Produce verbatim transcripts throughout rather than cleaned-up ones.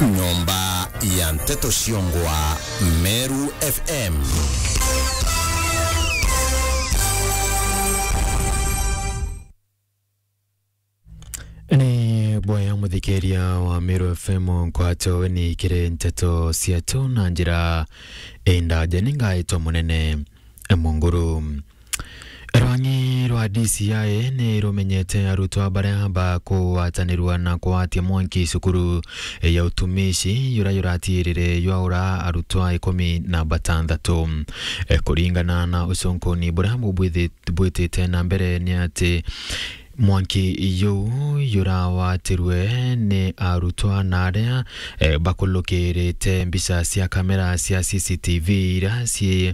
Nyomba ya nteto ciongwa Meru F M. Ni bwaya muthikiria wa Meru F M nkwato ni kiri nteto cietu na njira indaja ni ngaitwa munene Munguru. Rwang'i rwa D C I ni rumenyete arutwa baria bakugwatanirua na kugwatia mwanki cukuru ya utumishi yura yuratirire ywaura arutwa ikumi na batanthatu. E, kuringana na ucunkuni buria bubwithi-, bwitite na mbere ni ati mwanki juu jurawatirwe ni arutwa na aria, eh, bakulukirite mbica cia kamera cia C C T V iria ci-,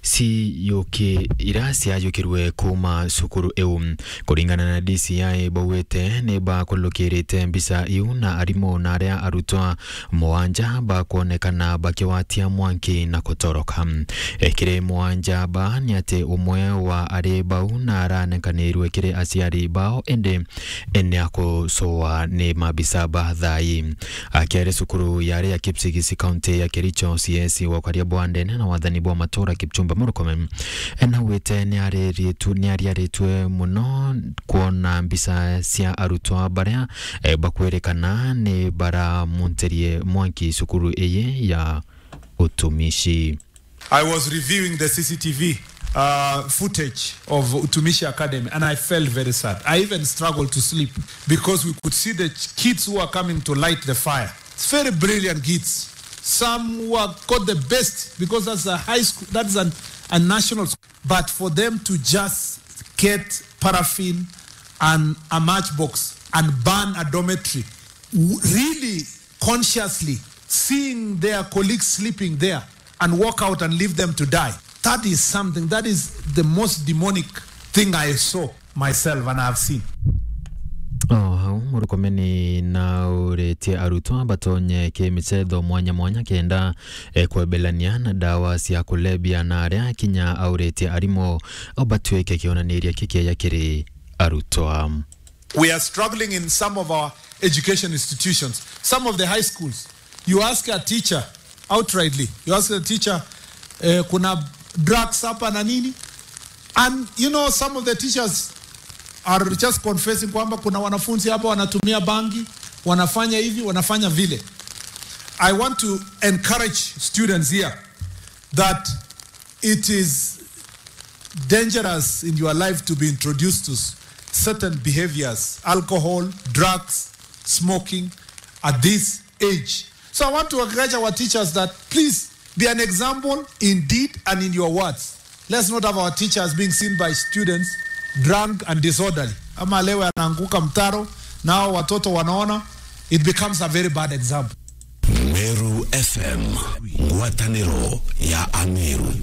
ciyuki-, iria ciayukirwe kuuma cukuru iu. Kuringana na D C I, baugite ni bakulukirite mbica iu na arimu na aria arutwa mugwanja bakwonekana bakigwatia mwanki na kutoroka. E, kiri mugwanja ba ni ati umwe wa ari bau na aranekanirwe kiri aciari bao, indi ni akucua ni mabisa ba thai. Akiari cukuru yari ya Kipsigis, kaunti ya Kericho, C S wa ukaria bwa ndene na wathani bwa matura, Kipchumba Murkomen, e, naugite ni ariritu-, ni ariaritwe muno kwona mbica cia arutwa baria, e, bakwirikana ni baramuntirie mwanki cukuru iyi ya utumishi. I was reviewing the C C T V, uh, footage of Utumishi Academy, and I felt very sad. I even struggled to sleep because we could see the ch-, kids who are coming to light the fire. It's very brilliant kids. Some who have got the best, because that's a high school, that's an, a national school. But for them to just get paraffin and a matchbox and burn a dormitory, w-, really consciously seeing their colleagues sleeping there and walk out and leave them to die. That is something, that is the most demonic thing I saw myself and I have seen. O hau, Murkomen nauritie arutwa batonye kimicetho mwanya mwanya kenda, eh, kwebelania na ndawa cia kulebia, na aria kinya auritie arimu o batuike kionaniria kikieja kiri arutwa. We are struggling in some of our education institutions, some of the high schools. You ask a teacher outrightly, you ask a teacher, eh, kuna drugs hapa na nini? And, you know, some of the teachers are just confessing kwamba kuna wanafunzi hapa wanatumia bangi, wanafanya hivi, wanafanya vile. I want to encourage students here that it is dangerous in your life to be introduced to s-, certain behaviors, alcohol, drugs, smoking at this age. So I want to encourage our teachers that please be an example in deed and in your words. Let's not have our teachers being seen by students drunk and disorderly. Ama leo anaanguka mtaro, nao watoto wanaona, it becomes a very bad example. Meru F M, ngwataniro ya Ameru.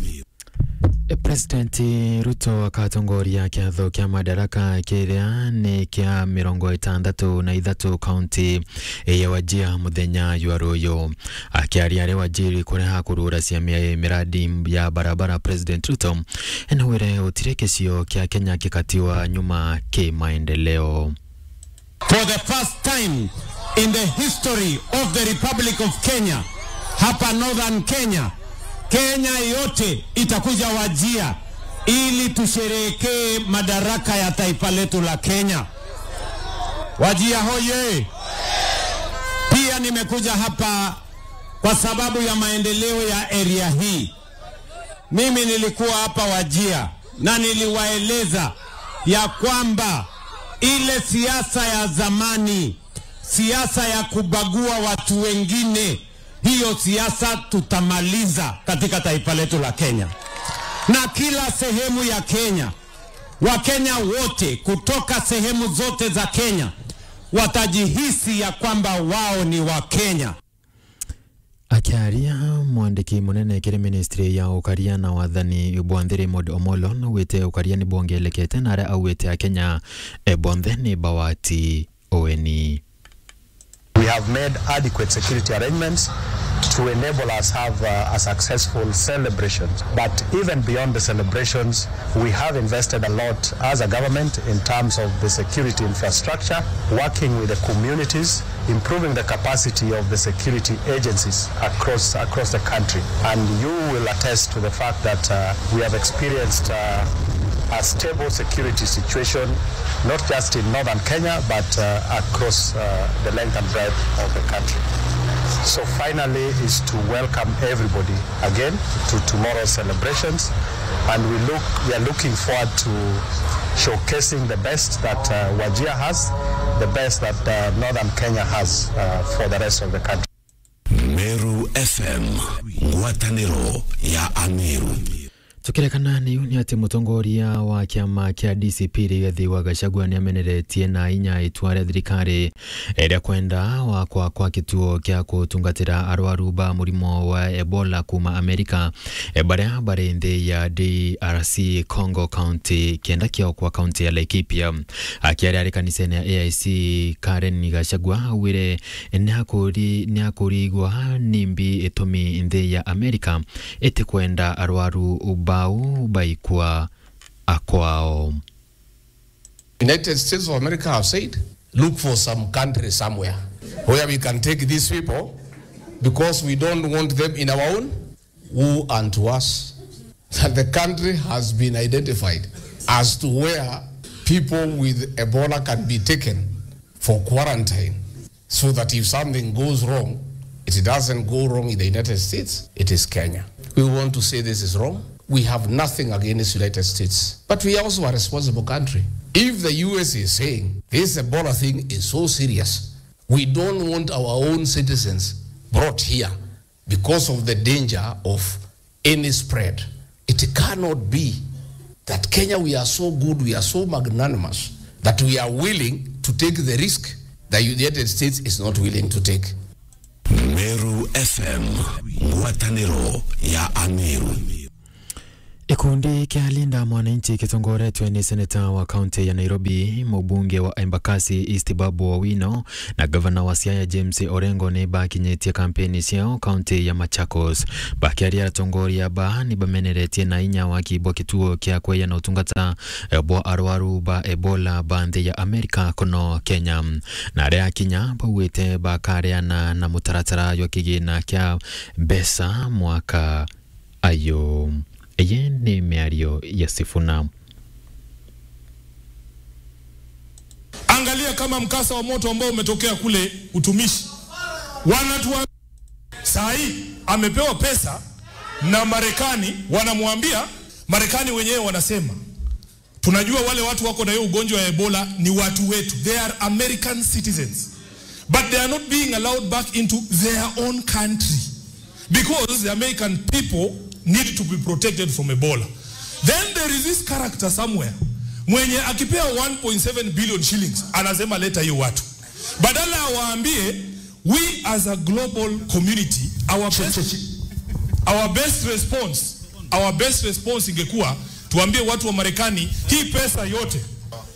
President Ruto akatongoria kiatho kia Madaraka kiria ni kia mirongo itantatu na ithatu kaunti ya Wajir muthenya jwa ruyu. Akiaria ari Wajir kuria akurura ciama ya miradi ya barabara, President Ruto enawire gutiri gicio kia Kenya gikatiwa nyuma ki maendeleo. For the first time in the history of the Republic of Kenya, hapa Northern Kenya, Kenya yote itakuja Wajir ili tusherehekee madaraka ya taifa letu la Kenya. Wajir hoye! Pia nimekuja hapa kwa sababu ya maendeleo ya area hii. Mimi nilikuwa hapa Wajir na niliwaeleza ya kwamba ile siasa ya zamani, siasa ya kubagua watu wengine, hiyo siasa tutamaliza katika taifa letu la Kenya. Na kila sehemu ya Kenya, Wakenya wote kutoka sehemu zote za Kenya watajihisi ya kwamba wao ni Wakenya. Akiaria, mwandiki munene kiri ministry ya ukaria na wathani bwa nthi Raymond Omolo naugite ukaria ni bwongelekete na aria augite Akenya, e, bonthe ni bawati ueni. We have made adequate security arrangements to enable us have uh, a successful celebrations. But even beyond the celebrations, we have invested a lot as a government in terms of the security infrastructure, working with the communities, improving the capacity of the security agencies across, across the country. And you will attest to the fact that uh, we have experienced uh, a stable security situation, not just in northern Kenya, but uh, across uh, the length and breadth of the country. So finally is to welcome everybody again to tomorrow's celebrations, and we look, we are looking forward to showcasing the best that uh, Wajir has, the best that uh, northern Kenya has uh, for the rest of the country. Meru F M, ngwatanĩro ya Ameru. Tukirekana ni uni ati mutongoria wa kiama kia D C P Rigathi wa Gachagua ni ameneretie na inya itua ria thirikari ria kwenda gwakwa kwa kituo kia kutungatira arwaru ba murimo wa Ebola kuma Amerika, e, baria bari nthi ya D R C Congo County, kenda kiokwa county ya Laikipia. Akiaria ari kanisene ya A I C, Karen Gachagua augire ni akuri-, ni akurigwa nimbi itumi nthi ya Amerika itikwenda arwaru bau baikua akwao. United States of America have said, "Look for some country somewhere where we can take these people, because we don't want them in our own." Woe unto us that the country has been identified as to where people with Ebola can be taken for quarantine, so that if something goes wrong, it doesn't go wrong in the United States, it is Kenya. We want to say this is wrong. We have nothing against United States, but we also are a responsible country. If the U S is saying this Ebola thing is so serious, we don't want our own citizens brought here because of the danger of any spread. It cannot be that Kenya, we are so good, we are so magnanimous that we are willing to take the risk that the United States is not willing to take. Meru F M, ngwatanĩro ya Ameru. Gikundi kia Linda Mwananchi kitongoretwe ni seneta wa kaunti ya Nairobi, mubunge wa Embakasi East Babu Owino na gavana wa Siaya James Orengo ni bakinyitie kampeni ciao kaunti ya Machakos. Bakiaria, atongoria ba ni bameneretie na inya waki bwa kituo kia kweya na utungata, eh, bwa arwaru ba Ebola ba nthi ya Amerika kuno Kenya. Na aria akinya baugite bakareana na mutaratara jwa kigina kia mbeca mwaka ayo. Eye ni miario ya Sifuna. Angalia kama mkasa wa moto ambao umetokea kule Utumishi. Wanatu saa hii amepewa pesa na Marekani, wanamwambia, Marekani wenyewe wanasema, "Tunajua wale watu wako na hiyo ugonjwa ya Ebola ni watu wetu. They are American citizens. But they are not being allowed back into their own country because the American people need to be protected from Ebola." Then there is this character somewhere mwenye akipewa one point seven billion shillings anasema, "Leta hiyo watu." Badala awaambie, we as a global community, our best, our best response, our best response ingekuwa tuambie watu wa Marekani, hii pesa yote,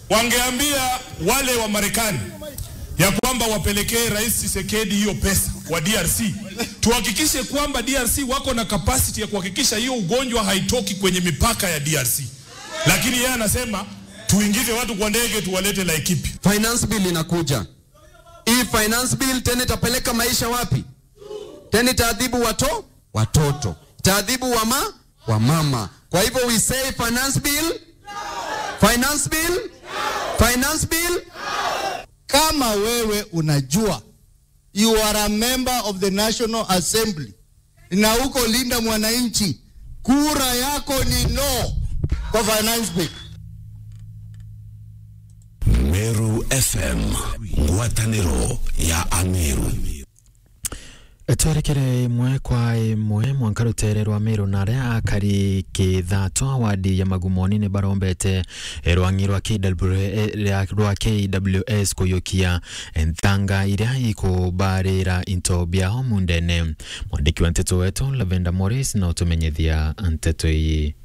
wangeambia wale wa Marekani ya kwamba wapelekee Rais Tshisekedi hiyo pesa wa D R C, tuhakikishe kwamba D R C wako na capacity ya kuhakikisha hiyo ugonjwa haitoki kwenye mipaka ya D R C. Lakini yeye anasema tuingize watu kwa ndege tuwalete Laikipia. Finance bill inakuja. Hii finance bill tena itapeleka maisha wapi? Tena itaadhibu wato-, watoto. Itaadhibu wama-, wamama. Kwa hivyo we say finance bill, finance bill, finance bill. Kama wewe unajua, you are a member of the National Assembly, na uko Linda Mwananchi, kura yako ni no kwa finance bill. Meru F M, ngwatanĩro ya Ameru. Twerekere imwe kwa imwe, mwanka rutere rwa Meru na aria akari Kithato wadi ya Magumoni ni barombete rwang'i rwa K W, rwa K W S kuyukia nthanga iria ikubarira into biao mundene. Mwandiki wa nteto wetu Lavender Morris na utumenyithia nteto ii.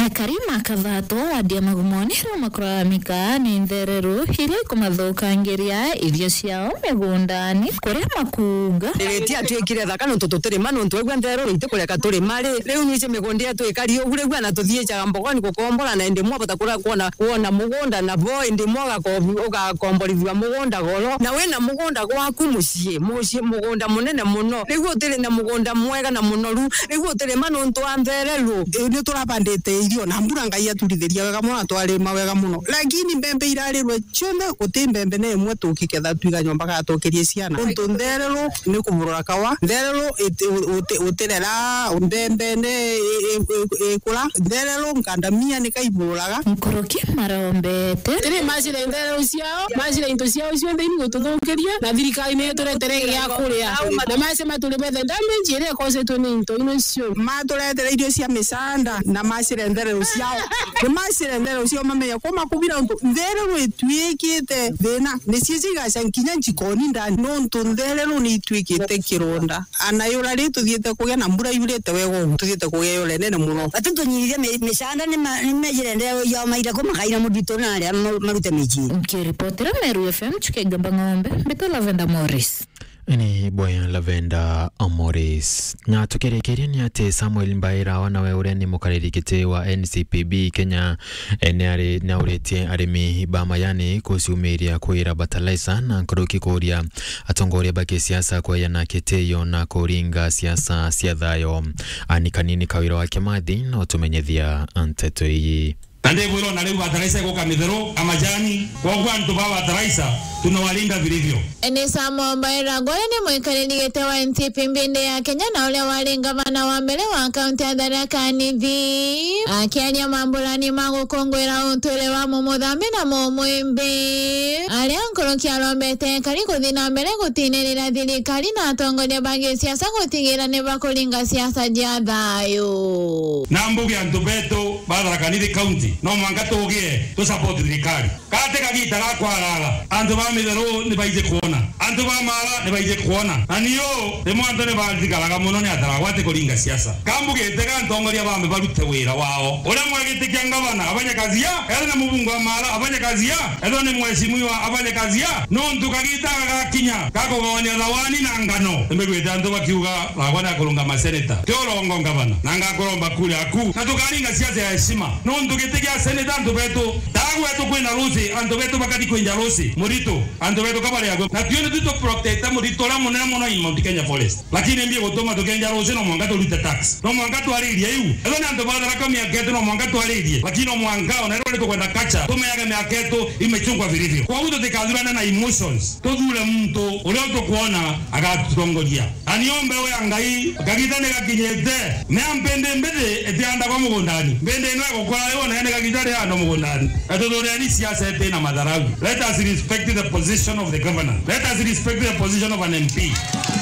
Akari ma Kathato, wadi ya Magumoni, riu makuraramika ni ntherero iria ikumathukangiria irio ciao migundani, kuria makuuga. Riritie atwikire thaka nontu tutirima, nontu aigua ntherero itikureka turima ri. Riu nwici migunda yetu ikari ugu, riu ana tuthiijaga Mbogoni gukombora, na indi mwe bata kura kwona, kwona mugunda na bo, indi mwe ugako-, ugakomborithua mugunda goro, na wina mugunda gwaku mucii, mucii mugunda munene muno, riu utiri na mugunda mwega na munoru, riu utirima nontu wa ntherero. Ii, ni turabandite irio na mbura Ngai aturithiria wega muno na twarima wega muno, lakini mbembe irarirwe cionthe, guti mbembe na imwe tukiketha twiga nyomba gatukirie ciana. Nontu ntherero ni kuburura kawa, ntherero iti-, uti-, utirera mbembe ni i-, i-, i-, ikura, ntherero ngandamia ni kaibururaga. Nkuruki marombete. Tiri macire ntherero ciao, macire into ciao cionthe ini gututhukiria, na thirikari ni ituretere gia kuria. Na mace maturi bethe damage iria ikosetwe ni into ino cio. Maturetere irio cia micanda na macire ntherero ciao. Ni macire ntherero ciao mamenye kuma kubira untu ntherero itwikite thina. Ni cio cigaca nkinya njikoni ndani nontu ntherero ni itwikite kironda. Ana yura ri tuthiite kugia na mbura yurite wega ugu, tuthiite kugia yura inene muno. Ati tunyiithia mi-, micanda ni ma-, ni mejire ndeo yao maira ku makaira muthitu na aria ma-, marute micii. Nkiripotera Meru F M, Chuka Igamba Ng'ombe, mbitwa Lavenda Morris. Ni boya Lavenda Morris. Na tukirikiria ni ati Samuel Mbaira, wana we uria ni mukariri giti wa N C P B Kenya, e, ni ari, ni auritie arimi ba majani kuciumiria kuira bataraisa na nkuruki kuria atongoria ba kisiasa kweyana kitio na kuringa siasa cia thayo. Ani Kanini Kawira wa Kimathi no tumenyethia nteto ii. Na ndibwirwa na riu bataraisa iguka mitheru, a majani, kwoguo antu ba bataraisa tunawalinda vilivyo. Ni Samuel Mbaira, uria ni mwikariri giti wa N C P B ya Kenya na uria wari ngavana wa mbere wa kaunti ya Tharaka Nithi. Akiaria mamburani ma gukunguira utwire wa mumuthambi na mumwimbi, aria nkuruki arombete akari kuthi na mbere gutinirira thirikari na atongoria ba gisiasa gutigira ni bakuringa siasa cia thayu. Na mbuge antu betu ba Tharaka Nithi County, no mwanka tugie tu support thirikari. Gati kagita ga kwaraga, antu ba mitheru ni baiji kwona, antu ba mara ni baiji kwona. Na nio rimwe antu ni bathigaraga muno ni ataragwa ati kuringa siasa. Kambugite ga ntongoria bambe barute wira wao. Uria mwegitikia ngavana afanye kazi ya, ethwe ni mubunge wa mara afanye kazi ya, ethwe ni mheshimiwa afanye kazi ya. Nontu kagita gagakinya ga kugawanya thawani na ngano, nimbiguite antu bakiuga, Thagwa ni akurungama seneta. Ti urongo ngavana, na ngakuromba kura yaku. Na tukaringa siasa ya heshima. Nontu giti gia seneta antu betu, Thagwa etu kwina ruci, antu betu bakari kwinja ruci. Murito, antu betu kabari agwe. Na tuone tu tu protect murito uria munene muno in Mount Kenya Forest. Lakini mbi gutuma tukenja ruci no mwanka turute tax. No mwanka twaririe iu. Ethwe ni antu ba Tharaka miaka yetu no mwanka twaririe. Lakini no mwanka ona riu tukwenda culture, tumeage miaka yetu imechungwa vilivyo. Kwoguo tutikathurane na emotions. Tuthure muntu uria tukwona agatutongoria. Na nio mbeu ya Ngai, kagita ni gakinyite. Ni a mpindi mbithi itiandagwa mugundani. Mpindi ino igukura riu, na ni kagita riandwa mugundani. Na tuthureni siasa iti na matharau. Let us respect the position of the governor. Let us respect the position of an M P.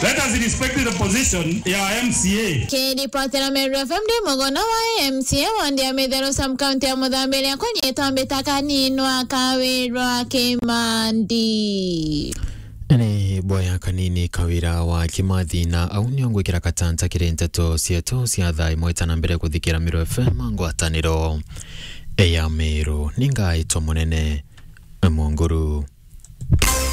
Let us respect the position ya M C A. Kiripotera Meru F M ndi mugona wa M C A wandi ya Mitheru sub county ya Muthambiria kunyitwa mbita Kaninwa Kawirwa Kimandi. Ni boya Kanini Kawira wa Kimathi, na au nio ngwikira katanta kiri nteto cietu cia thaa imwe ta na mbere kuthikira Meru F M ngwataniro ya Meru. Ni ngaitwa Munene Munguru.